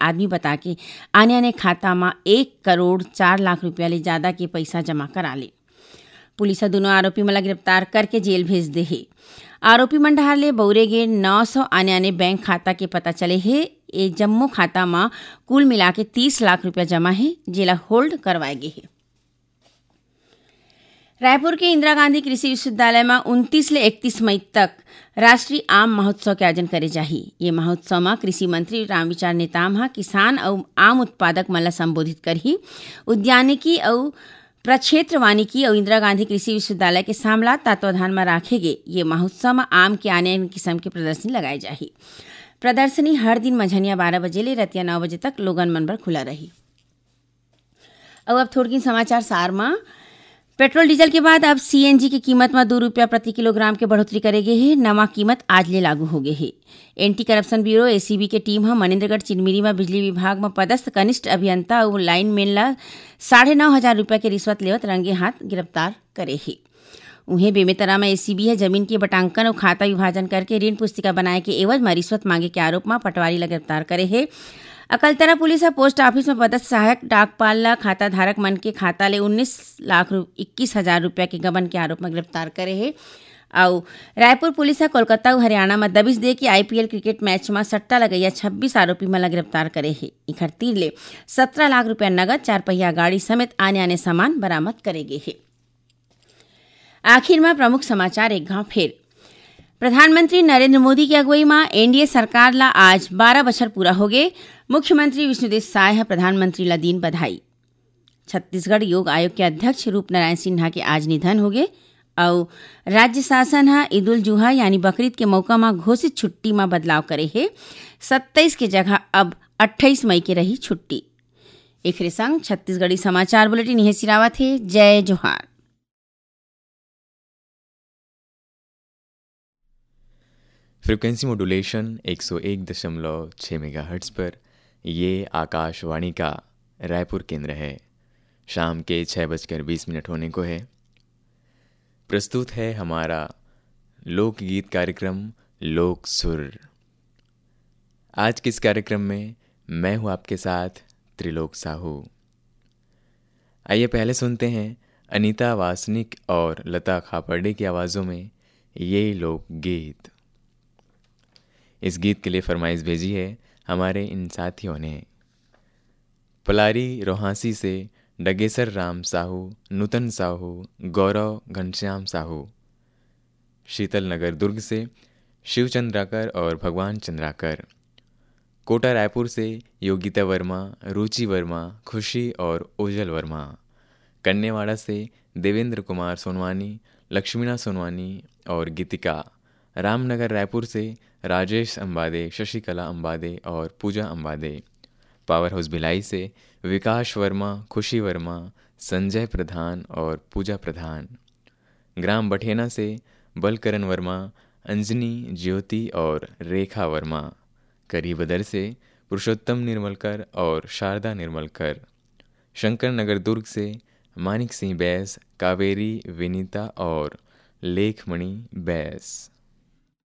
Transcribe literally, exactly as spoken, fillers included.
आदमी बता के आने-आने खाता म एक करोड़ चार लाख रुपया ले जादा के पइसा जमा करा ले। पुलिस ह दूनों आरोपी मन ला गिरफ्तार करके जेल भेज दे हे। आरोपी मन डहार ले बउरे गे नौ सौ आने-आने बैंक खाता के पता चले हे। ए जम्मो खाता म कुल मिला के तीस लाख रुपया जमा हे, जेला होल्ड करवाए गे हे। रायपुर के इंदिरा गांधी कृषि विश्वविद्यालय म उनतीस ले इकतीस मई तक राष्ट्रीय आम महोत्सव के आयोजन करे जाही। ये महोत्सव म कृषि मंत्री रामविचार नेताम ह किसान अउ आम उत्पादक मन ला संबोधित करही। उद्यानिकी अउ प्रक्षेत्र वानिकी अउ इंदिरा गांधी कृषि विश्वविद्यालय के सामला तत्वाधान म राखे गे ये महोत्सव म आम के आने-आने किसम के प्रदर्शनी लगाए जाही। प्रदर्शनी हर दिन मंझनिया बारह बजे ले रतिया नौ बजे तक लोगन मन बर खुला रही। अउ अब थोड़किन समाचार सार म। पेट्रोल डीजल के बाद अब सीएनजी के कीमत म दू रुपया प्रति किलोग्राम के बढ़ोतरी करे गे हे। नवा कीमत आज ले लागू हो गे हे। एंटी करप्शन ब्यूरो, एसीबी, के टीम ह मनेंद्रगढ़ चिनमिरी म बिजली विभाग म पदस्थ कनिष्ठ अभियंता अउ लाइनमैन ल साढ़े नौ हजार रुपया के रिश्वत लेवत रंगे हाथ गिरफ्तार करे हे। उहें, बेमेतरा म एसीबी ह जमीन के बटांकन अउ खाता विभाजन करके ऋण पुस्तिका बनाए के एवज म रिश्वत मांगे के आरोप म पटवारी ल गिरफ्तार करे हे। अकलतरा पुलिस ह पोस्ट ऑफिस म पदस्थ सहायक डाकपाल ल खाता धारक मन के खाता ले उन्नीस लाख रु-, इक्कीस हजार रुपया के गबन के आरोप म गिरफ्तार करे हे। अउ रायपुर पुलिस ह कोलकाता अउ हरियाणा म दबिश दे के आईपीएल क्रिकेट मैच म सट्टा लगइया छब्बीस आरोपी मन ल गिरफ्तार करे हे। इखर तीर ले सत्रह लाख रुपया नगद, चार पहिया गाड़ी समेत आने-आने सामान बरामद करे गे हे। आखिर म प्रमुख समाचार एक घाव फेर। प्रधानमंत्री नरेंद्र मोदी के अगुवई म एनडीए सरकार ल आज बारह बछर पूरा होगे। मुख्यमंत्री विष्णुदेव साय ह प्रधानमंत्री ल दीन बधाई। छत्तीसगढ़ योग आयोग के अध्यक्ष रूपनारायण सिन्हा के आज निधन होगे अउ राज्य शासन ह ईद उल जुहा यानी बकरीद के मौका म घोषित छुट्टी म बदलाव करे हे। सत्ताईस के जगह अब अट्ठाईस मई के रही छुट्टी। एखरे संग छत्तीसगढ़ी समाचार बुलेटिन इहें सिरावत हे। जय जोहार। फ्रीक्वेंसी मॉड्यूलेशन एक सौ एक दशमलव छः मेगाहर्ट्ज़ पर, ये आकाशवाणी का रायपुर केंद्र है। शाम के छः बजकर बीस मिनट होने को है। प्रस्तुत है हमारा लोकगीत कार्यक्रम लोक सुर। आज के इस कार्यक्रम में मैं हूं आपके साथ त्रिलोक साहू। आइए पहले सुनते हैं अनीता वासनिक और लता खापर्डे की आवाज़ों में ये लोकगीत। इस गीत के लिए फरमाइश भेजी है हमारे इन साथियों ने। पलारी रोहासी से डगेसर राम साहू, नूतन साहू, गौरव घनश्याम साहू। शीतल नगर दुर्ग से शिव चंद्राकर और भगवान चंद्राकर। कोटा रायपुर से योगिता वर्मा, रुचि वर्मा, खुशी और ओजल वर्मा। कन्नेवाड़ा से देवेंद्र कुमार सोनवानी, लक्ष्मीना सोनवानी और गीतिका। रामनगर रायपुर से राजेश अंबादे, शशिकला अंबादे और पूजा अंबादे। पावर हाउस भिलाई से विकास वर्मा, खुशी वर्मा, संजय प्रधान और पूजा प्रधान। ग्राम बठेना से बलकरण वर्मा, अंजनी, ज्योति और रेखा वर्मा। करीबदर से पुरुषोत्तम निर्मलकर और शारदा निर्मलकर। शंकर नगर दुर्ग से मानिक सिंह बैस, कावेरी, विनीता और लेखमणि बैस।